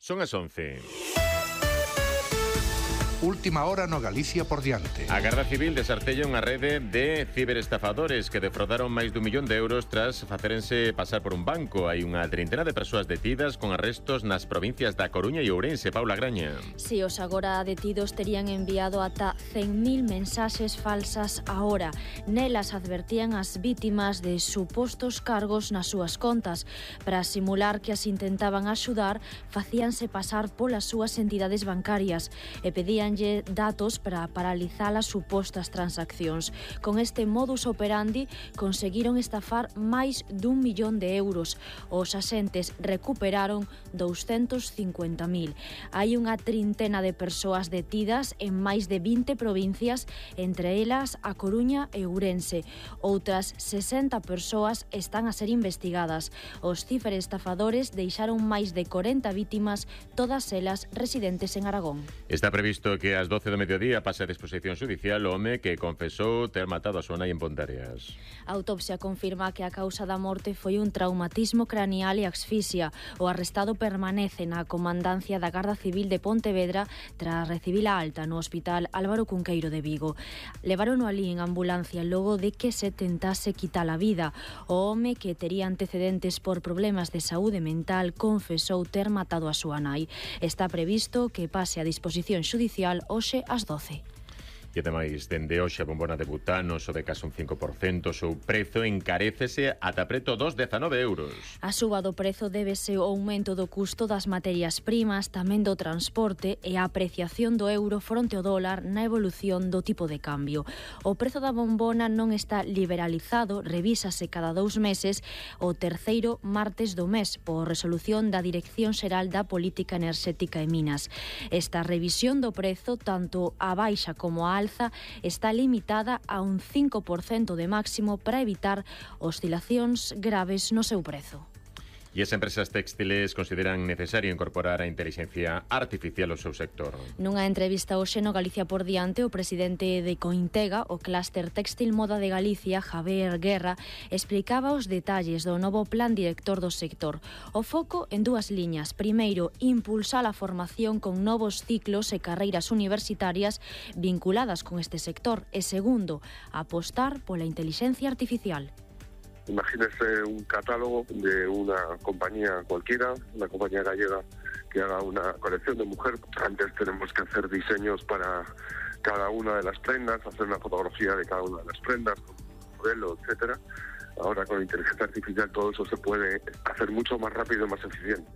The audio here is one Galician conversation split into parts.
Son as 11. Última hora no Galicia por diante. A Garda Civil desartella unha rede de ciberestafadores que defraudaron máis dun millón de euros tras facerense pasar por un banco. Hai unha treintena de persoas detidas con arrestos nas provincias da Coruña e Ourense. Paula Graña. Si, os agora detidos terían enviado ata 100.000 mensaxes falsas a hora. Nelas advertían as vítimas de supostos cargos nas súas contas. Para simular que as intentaban axudar, facíanse pasar polas súas entidades bancarias e pedían datos para paralizar as supostas transaccións. Con este modus operandi conseguiron estafar máis dun millón de euros. Os axentes recuperaron 250.000. Hai unha trintena de persoas detidas en máis de 20 provincias, entre elas a Coruña e Ourense. Outras 60 persoas están a ser investigadas. Os ciberestafadores deixaron máis de 40 vítimas, todas elas residentes en Aragón. Está previsto que ás 12 do mediodía pase a disposición judicial o home que confesou ter matado a súa nai en Ponteareas. A autopsia confirma que a causa da morte foi un traumatismo craneal e asfixia. O arrestado permanece na comandancia da Garda Civil de Pontevedra tras recibir a alta no Hospital Álvaro Cunqueiro de Vigo. Levaron alí en ambulancia logo de que se tentase quitar a vida. O home, que tería antecedentes por problemas de saúde mental, confesou ter matado a súa nai. Está previsto que pase a disposición judicial hoxe ás 12. E ademais, dende hoxe a bombona de butano sobe case un 5%, o seu prezo encarécese ata preto dos 19 euros. A suba do prezo débese ao aumento do custo das materias primas, tamén do transporte e a apreciación do euro fronte ao dólar na evolución do tipo de cambio. O prezo da bombona non está liberalizado, revísase cada 2 meses o terceiro martes do mes por resolución da Dirección Xeral da Política Enerxética e Minas. Esta revisión do prezo, tanto a baixa como a alza, está limitada a un 5% de máximo para evitar oscilacións graves no seu prezo. E as empresas textiles consideran necesario incorporar a inteligencia artificial ao seu sector. Nunha entrevista hoxe no Galicia por diante, o presidente de Cointega, o clúster Textil Moda de Galicia, Javier Guerra, explicaba os detalles do novo plan director do sector. O foco en dúas liñas. Primeiro, impulsar a formación con novos ciclos e carreiras universitarias vinculadas con este sector. E segundo, apostar pola inteligencia artificial. Imagínese un catálogo de una compañía cualquiera, una compañía gallega que haga una colección de mujer. Antes tenemos que hacer diseños para cada una de las prendas, hacer una fotografía de cada una de las prendas, con un modelo, etcétera. Ahora con inteligencia artificial todo eso se puede hacer mucho más rápido y más eficiente.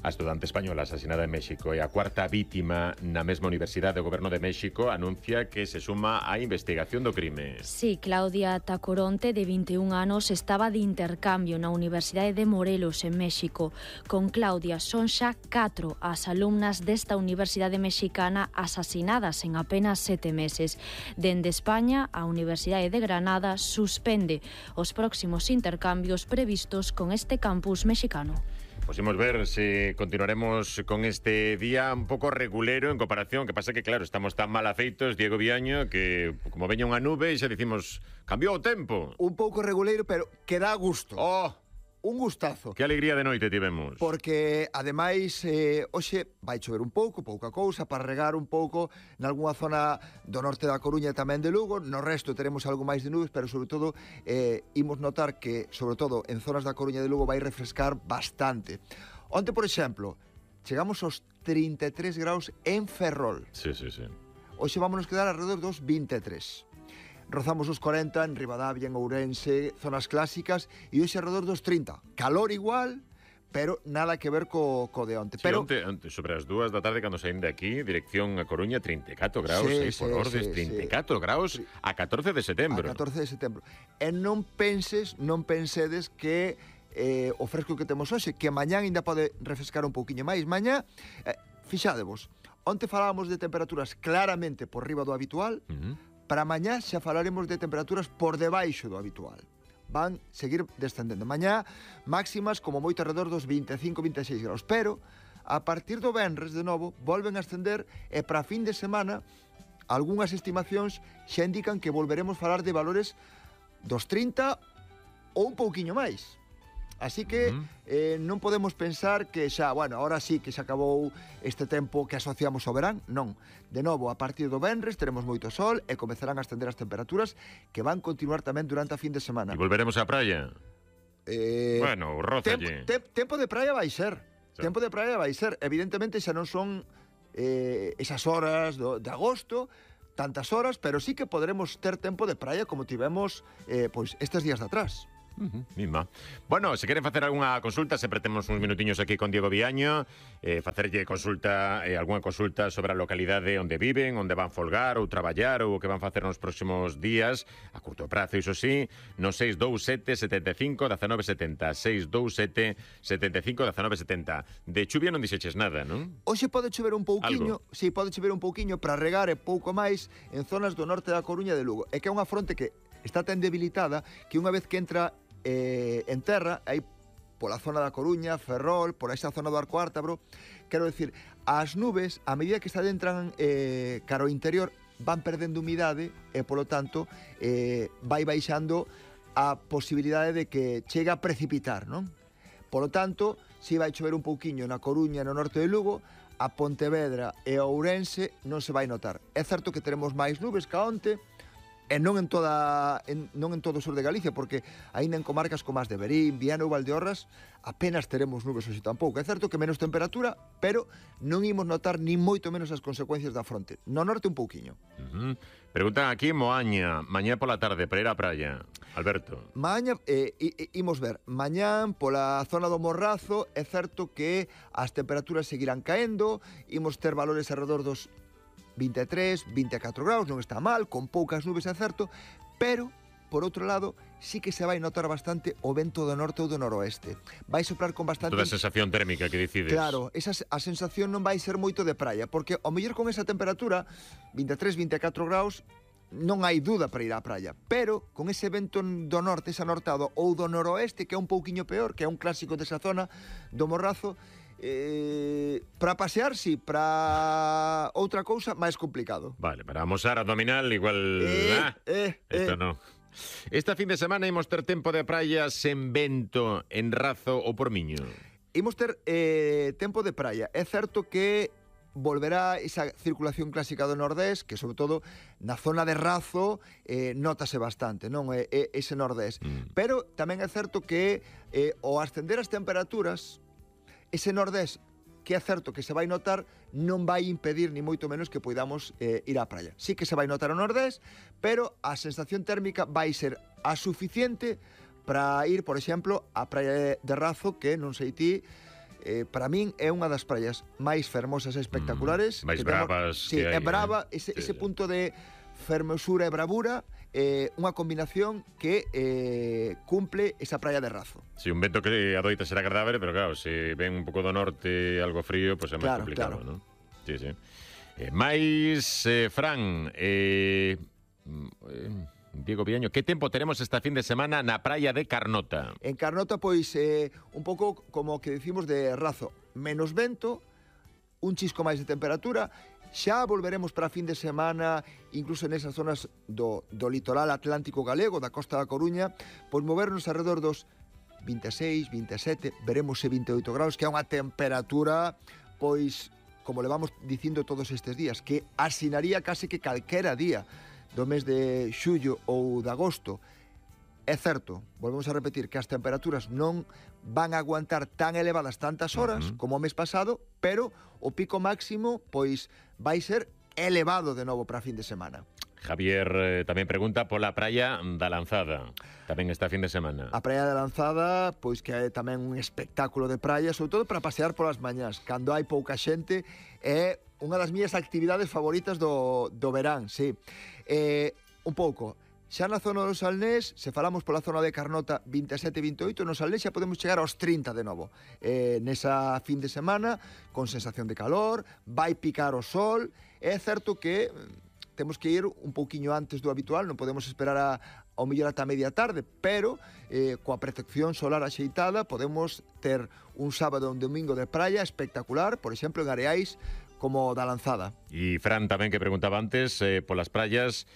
A estudante española asesinada en México e a cuarta vítima na mesma Universidade do Goberno de México anuncia que se suma á investigación do crime. Sí, Claudia Tacoronte, de 21 anos, estaba de intercambio na Universidade de Morelos, en México. Con Claudia son xa 4 as alumnas desta universidade mexicana asasinadas en apenas 7 meses. Dende España, a Universidade de Granada suspende os próximos intercambios previstos con este campus mexicano. Pues imos ver se continuaremos con este día un pouco regulero en comparación, que pasa que, claro, estamos tan mal afeitos, Diego Viaño, que como veña unha nube e xa dicimos, cambiou o tempo. Un pouco reguleiro, pero que dá gusto. Oh! Un gustazo. Que alegría de noite tivemos. Porque, ademais, hoxe vai chover un pouco, pouca cousa, para regar un pouco nalgúna zona do norte da Coruña e tamén de Lugo. No resto teremos algo máis de nubes, pero, sobre todo, imos notar que, sobre todo, en zonas da Coruña e de Lugo vai refrescar bastante. Onte, por exemplo, chegamos aos 33 graus en Ferrol. Sí, sí, sí. Hoxe vámonos quedar alrededor dos 23. Rozamos os 40 en Ribadavia, en Ourense, zonas clásicas, e hoxe alrededor dos 30. Calor igual, pero nada que ver co de onte. Sí, pero onte, sobre as 2 da tarde, cando saín de aquí, dirección a Coruña, 34 graus, por ordes, 34 graus a 14 de setembro. A 14 de setembro. E non pensedes que o fresco que temos hoxe, que mañán ainda pode refrescar un pouquiño máis. Mañá, fixádevos, onte falábamos de temperaturas claramente por riba do habitual. Para mañá xa falaremos de temperaturas por debaixo do habitual. Van seguir descendendo. Mañá, máximas como moito alrededor dos 25-26 graus. Pero, a partir do venres, de novo, volven a ascender e para fin de semana, algunhas estimacións xa indican que volveremos falar de valores dos 30 ou un pouquiño máis. Así que non podemos pensar que xa, bueno, ahora sí que se acabou este tempo que asociamos ao verán. Non. De novo, a partir do venres teremos moito sol e comezarán a ascender as temperaturas que van continuar tamén durante a fin de semana. E volveremos á praia. Bueno, rózalle. Tempo de praia vai ser. Sí. Tempo de praia vai ser. Evidentemente xa non son esas horas de agosto, tantas horas, pero sí que poderemos ter tempo de praia como tivemos pois estes días de atrás. Misma. Bueno, se queren facer algunha consulta, sempre temos uns minutiños aquí con Diego Viaño, facerlle consulta, algunha consulta sobre a localidade onde viven, onde van folgar ou traballar ou o que van facer nos próximos días, a curto prazo, iso sí, no 627 75 19 70, 627 75 19 70. De chuvia non dixeches nada, non? Hoxe pode chover un pouquiño, Algo. si pode chover un pouquiño para regar e pouco máis en zonas do norte da Coruña e de Lugo. É que é unha fronte que está tan debilitada que unha vez que entra en terra, aí pola zona da Coruña, Ferrol, por esa zona do Arco Ártabro, quero decir, as nubes, a medida que se adentran cara ao interior, van perdendo humidade e, polo tanto, vai baixando a posibilidade de que chegue a precipitar, non? Polo tanto, si vai chover un pouquiño na Coruña e no norte de Lugo, a Pontevedra e a Ourense non se vai notar. É certo que teremos máis nubes ca onte, e non en todo o sur de Galicia, porque aínda en comarcas como as de Verín, Viana ou Valdeorras apenas teremos nubes hoxe tampouco. É certo que menos temperatura, pero non imos notar ni moito menos as consecuencias da fronte. No norte un pouquiño. Preguntan aquí Moaña, mañá pola tarde para ir á praia. Alberto. Mañá, imos ver, mañán pola zona do Morrazo é certo que as temperaturas seguirán caendo, imos ter valores alrededor dos 23, 24 graus, non está mal, con poucas nubes é certo, pero, por outro lado, sí que se vai notar bastante o vento do norte ou do noroeste. Vai soprar con bastante... Toda a sensación térmica que decides. Claro, a sensación non vai ser moito de praia, porque ao mellor con esa temperatura, 23, 24 graus, non hai duda para ir á praia, pero con ese vento do norte, esa nortado, ou do noroeste, que é un pouquiño peor, que é un clásico desa zona do Morrazo, para pasear, sí, para outra cousa máis complicado. Vale, para amosar abdominal igual... Esto no. Esta fin de semana imos ter tempo de praia sen vento, en Razo ou por Miño. Imos ter tempo de praia. É certo que volverá esa circulación clásica do Nordés, que sobre todo na zona de Razo notase bastante, non? Ese Nordés. Pero tamén é certo que ao ascender as temperaturas, ese Nordés, que é certo que se vai notar, non vai impedir ni moito menos que poidamos ir á praia. Sí que se vai notar o Nordés, pero a sensación térmica vai ser a suficiente para ir, por exemplo, á praia de Razo, que non sei ti, para min é unha das praias máis fermosas e espectaculares. Máis bravas. Sí, é brava, ese punto de fermosura e bravura, unha combinación que cumple esa praia de Razo. Si, un vento que adoita ser agradável, pero claro, se ven un pouco do norte algo frío, pois é máis complicado, non? Sí, sí. Fran, Diego Viaño, que tempo teremos esta fin de semana na praia de Carnota? En Carnota, pois, un pouco como que decimos de Razo, menos vento, un chisco máis de temperatura. Xa volveremos para a fin de semana, incluso nesas zonas do litoral atlántico galego, da costa da Coruña, pois movernos alrededor dos 26, 27, veremos se 28 graus, que é unha temperatura, pois, como le vamos dicindo todos estes días, que asinaría case que calquera día do mes de xullo ou de agosto. É certo, volvemos a repetir, que as temperaturas non van a aguantar tan elevadas tantas horas como o mes pasado, pero o pico máximo pois vai ser elevado de novo para a fin de semana. Javier tamén pregunta pola praia da Lanzada, tamén esta fin de semana. A praia da Lanzada, pois que é tamén un espectáculo de praia, sobre todo para pasear polas mañás, cando hai pouca xente, é unha das miñas actividades favoritas do verán, sí. Un pouco... Xa na zona do Salnés, se falamos pola zona de Carnota 27-28, no Salnés xa podemos chegar aos 30 de novo. Nesa fin de semana, con sensación de calor, vai picar o sol. É certo que temos que ir un pouquiño antes do habitual, non podemos esperar ao mellor ata media tarde, pero coa protección solar axeitada podemos ter un sábado e un domingo de praia espectacular, por exemplo, en areais como da Lanzada. E Fran tamén, que preguntaba antes, polas praias,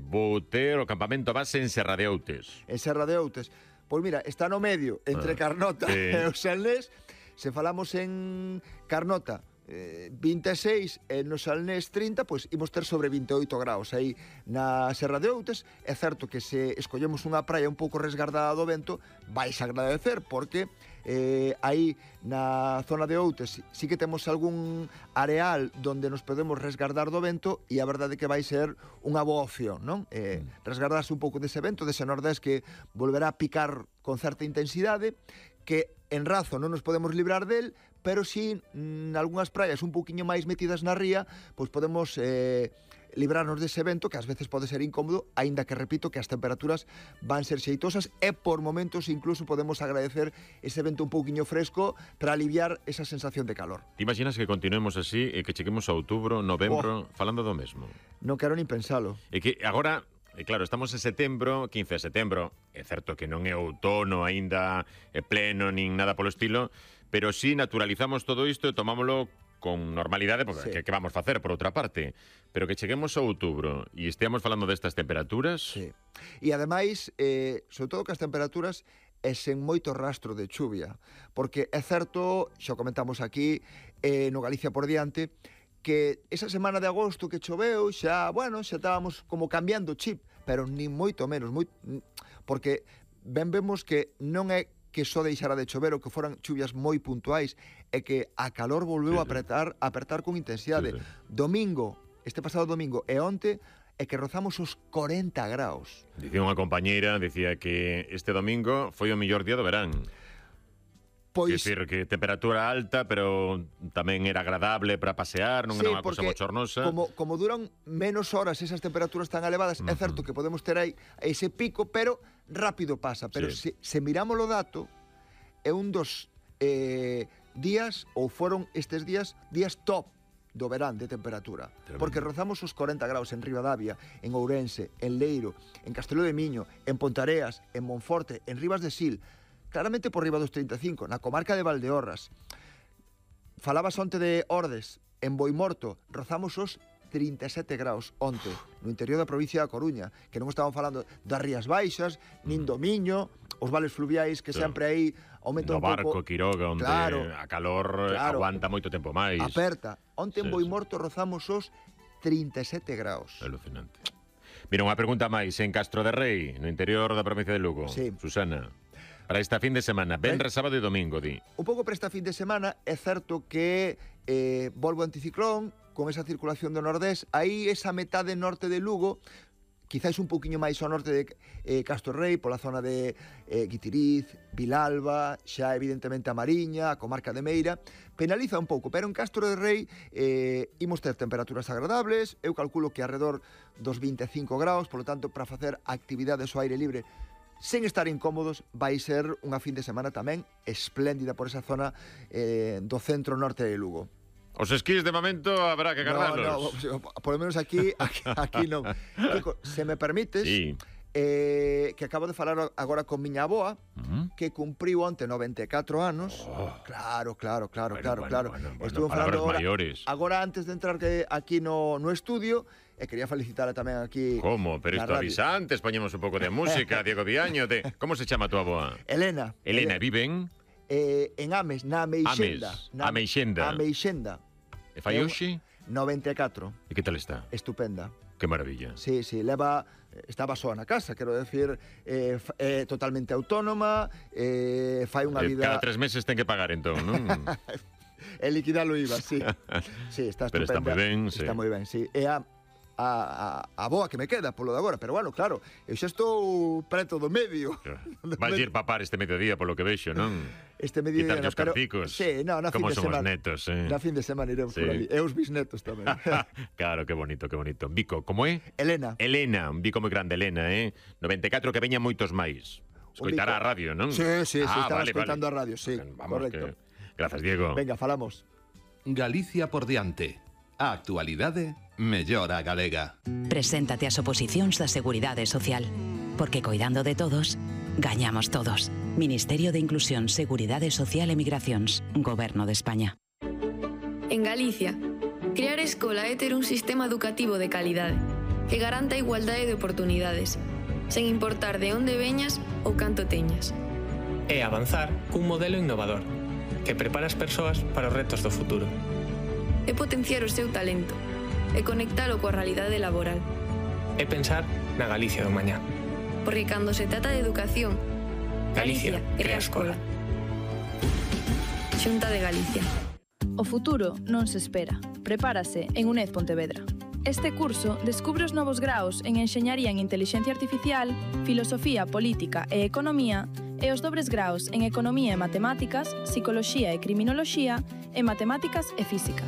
vou ter o campamento base en Serra de Outes. En Serra de Outes. Pois mira, está no medio, entre Carnota e o Salnés. Se falamos en Carnota, 26 e no Salnés 30, pois imos ter sobre 28 graus aí na Serra de Outes. É certo que se escollemos unha praia un pouco resgardada do vento, vais agradecer, porque aí na zona de Outes sí que temos algún areal donde nos podemos resgardar do vento, e a verdade é que vai ser unha boa opción, non? Resgardarse un pouco dese vento, dese nordés que volverá a picar con certa intensidade, que en Razo non nos podemos librar del, pero si en algunhas praias un pouquiño máis metidas na ría, pois podemos librarnos dese vento, que ás veces pode ser incómodo, aínda que repito que as temperaturas van ser xeitosas, e por momentos incluso podemos agradecer ese vento un pouquiño fresco para aliviar esa sensación de calor. Te imaginas que continuemos así e que cheguemos a outubro, novembro, falando do mesmo? Non quero nin pensalo. E que agora... claro, estamos en setembro, 15 de setembro. É certo que non é outono aínda pleno nin nada polo estilo, pero si naturalizamos todo isto e tomámoslo con normalidade, porque que vamos facer por outra parte. Pero que cheguemos a outubro e esteamos falando destas temperaturas... Sí. E ademais, sobre todo que as temperaturas é sen moito rastro de chuvia, porque é certo, xa comentamos aquí, no Galicia por diante, que esa semana de agosto que choveu xa, bueno, xa estábamos como cambiando chip, pero nin moito menos, porque ben vemos que non é que só deixara de chover ou que foran chuvias moi puntuais, é que a calor volveu a apertar con intensidade. Domingo, este pasado domingo e onte, é que rozamos os 40 graus. Dicía unha compañeira, dicía que este domingo foi o mellor día do verán. Pois... Quer decir, que temperatura alta, pero tamén era agradable para pasear, non era unha cosa bochornosa. Como duran menos horas esas temperaturas tan elevadas, é certo que podemos ter aí ese pico, pero rápido pasa. Pero se miramos o dato, é un dos días, ou foron estes días top do verán de temperatura. Porque rozamos os 40 graus en Ribadavia, en Ourense, en Leiro, en Castelló de Miño, en Pontareas, en Monforte, en Ribas de Sil, claramente por riba dos 35, na comarca de Valdeorras. Falabas onte de Ordes, en Boimorto, rozamos os 37 graus onte, no interior da provincia da Coruña, que non estaban falando das Rías Baixas, nin do Miño, os vales fluviais que sempre aí aumentan un pouco. No Barco, Quiroga, onde a calor aguanta moito tempo máis. Aperta. Onte en Boimorto rozamos os 37 graus. Alucinante. Mira, unha pregunta máis. En Castro de Rei, no interior da provincia de Lugo, Susana, para esta fin de semana, venres, sábado e domingo, di. Un pouco para esta fin de semana, é certo que volve o anticiclón, con esa circulación do nordés, aí esa metade norte de Lugo, quizáis un poquinho máis ao norte de Castro Rei, pola zona de Guitiriz, Vilalba, xa evidentemente a Mariña, a comarca de Meira, penaliza un pouco, pero en Castro de Rei imos ter temperaturas agradables, eu calculo que alrededor dos 25 graus, polo tanto, para facer actividades ao aire libre sen estar incómodos, vai ser unha fin de semana tamén espléndida por esa zona do centro norte de Lugo. Os esquís de momento habrá que agardarlos. No, por lo menos aquí non. Kiko, se me permites, que acabo de falar agora con miña avoa, que cumpriu onte 94 anos. Claro. Bueno, estuve falando agora antes de entrar aquí no estudio, e quería felicitala tamén aquí. Como? Pero isto avisa antes, poñemos un pouco de música, Diego Viaño. Como se chama tu avoa? Elena, viven? En Ames, na Ameixenda. Ameixenda. E fai hoxe? 94. E que tal está? Estupenda. Que maravilla. Sí, estaba soa na casa, quero decir, totalmente autónoma, fai unha vida... Cada 3 meses ten que pagar, entón, non? E liquidar o IVA, sí. Sí, está estupenda. Pero está moi ben, sí. Está moi ben, sí. E a boa que me queda polo de agora, pero bueno, claro, eu xa estou preto do medio. Vais ir papar este mediodía polo que vexo, non? Este mediodía, quitarlle os carticos. Sí, no, na fin de semana. Como son os netos, Na fin de semana iremos por ali. E os bisnetos tamén. Claro, que bonito. Vico, como é? Elena, un bico moi grande, Elena, 94 que veña moitos máis. Escoitará a radio, non? Sí, estaba escoitando a radio, sí, correcto. Grazas, Diego. Venga, falamos. Galicia por diante. A actualidade mellora galega. Preséntate ás oposicións da Seguridade Social. Porque coidando de todos, gañamos todos. Ministerio de Inclusión, Seguridade Social e Migracións. Goberno de España. En Galicia, crear escola é ter un sistema educativo de calidade que garanta a igualdade de oportunidades, sen importar de onde veñas ou canto teñas. É avanzar cun modelo innovador que prepara as persoas para os retos do futuro. É potenciar o seu talento e conectalo coa realidade laboral. É pensar na Galicia do mañá. Porque cando se trata de educación, Galicia crea escola. Xunta de Galicia. O futuro non se espera. Prepárase en UNED Pontevedra. Este curso descubre os novos graos en Enxeñaría en Intelixencia Artificial, Filosofía, Política e Economía e os dobres graos en Economía e Matemáticas, Psicoloxía e Criminoloxía e Matemáticas e Física.